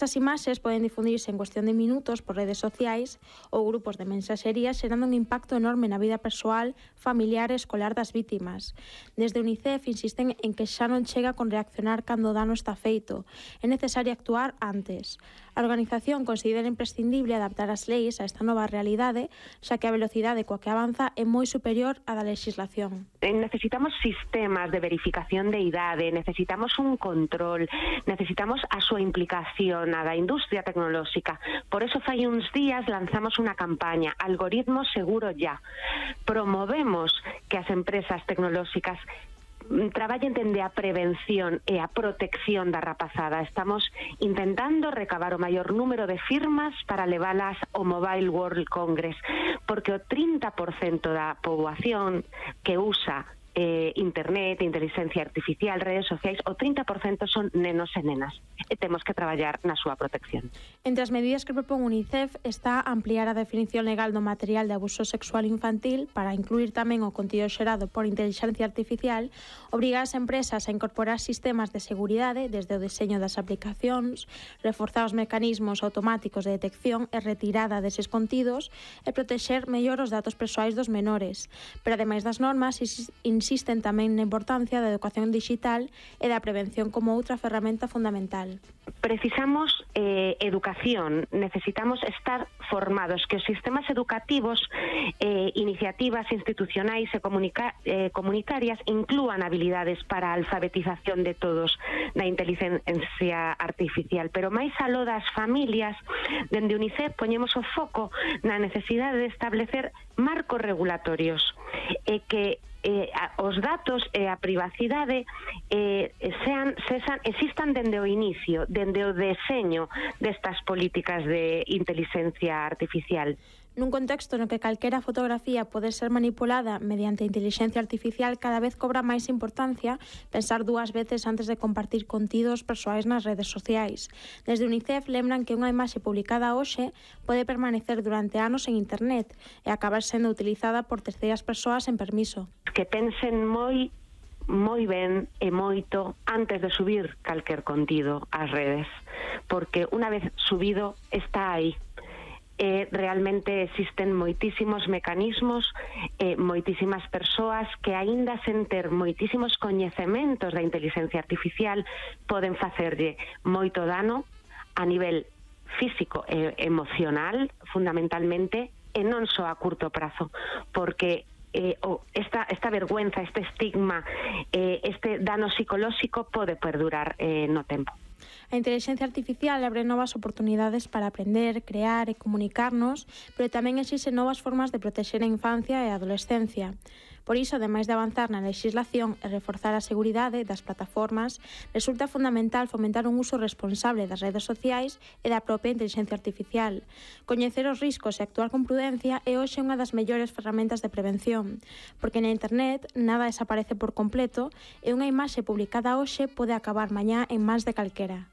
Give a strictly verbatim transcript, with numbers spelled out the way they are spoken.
Estas imaxes poden difundirse en cuestión de minutos por redes sociais ou grupos de mensaxería, xerando un impacto enorme na vida persoal, familiar e escolar das vítimas. Desde Unicef insisten en que xa non chega con reaccionar cando o dano está feito. É necesario actuar antes. A organización considera imprescindible adaptar as leis a esta nova realidade, xa que a velocidade coa que avanza é moi superior á da legislación. Necesitamos sistemas de verificación de idade, necesitamos un control, necesitamos a súa implicación a da industria tecnolóxica. Por eso fai uns días lanzamos unha campaña, Algoritmo Seguro Ya. Promovemos que as empresas tecnolóxicas traballen dende a prevención e a protección da rapazada. Estamos intentando recabar o maior número de firmas para levalas ao Mobile World Congress, porque o trinta por cento da poboación que usa eh, internet, inteligencia artificial, redes sociais, o trinta por cento son nenos e nenas. E temos que traballar na súa protección. Entre as medidas que propón Unicef está ampliar a definición legal do material de abuso sexual infantil para incluir tamén o contido xerado por inteligencia artificial, obrigar as empresas a incorporar sistemas de seguridade desde o deseño das aplicacións, reforzar os mecanismos automáticos de detección e retirada deses contidos e protexer mellor os datos persoais dos menores. Pero ademais das normas, insisten tamén na importancia da educación digital e da prevención como outra ferramenta fundamental. Precisamos eh, educación, necesitamos estar formados, que os sistemas educativos, eh, iniciativas institucionais e comunica, eh, comunitarias inclúan habilidades para a alfabetización de todos na inteligencia artificial, pero máis aló das familias, dende Unicef poñemos o foco na necesidade de establecer marcos regulatorios e que Eh, a, os datos e a privacidade eh, sean, sean, existan dende o inicio, dende o deseño destas políticas de inteligencia artificial. Nun contexto no que calquera fotografía pode ser manipulada mediante inteligencia artificial, cada vez cobra máis importancia pensar dúas veces antes de compartir contidos persoais nas redes sociais. Desde Unicef lembran que unha imaxe publicada hoxe pode permanecer durante anos en internet e acabar sendo utilizada por terceiras persoas sen permiso. Que pensen moi moi ben e moito antes de subir calquer contido ás redes, porque unha vez subido está aí. Eh, realmente existen moitísimos mecanismos, eh, moitísimas persoas que aínda sen ter moitísimos coñecementos da inteligencia artificial poden facerlle moito dano a nivel físico e emocional, fundamentalmente, e non só a curto prazo, porque eh, oh, esta, esta vergüenza, este estigma, eh, este dano psicolóxico pode perdurar eh, no tempo. A inteligencia artificial abre novas oportunidades para aprender, crear e comunicarnos, pero tamén existen novas formas de protexer a infancia e a adolescencia. Por iso, ademais de avanzar na legislación e reforzar a seguridade das plataformas, resulta fundamental fomentar un uso responsable das redes sociais e da propia inteligencia artificial. Coñecer os riscos e actuar con prudencia é hoxe unha das mellores ferramentas de prevención, porque na internet nada desaparece por completo e unha imaxe publicada hoxe pode acabar mañá en mans de calquera.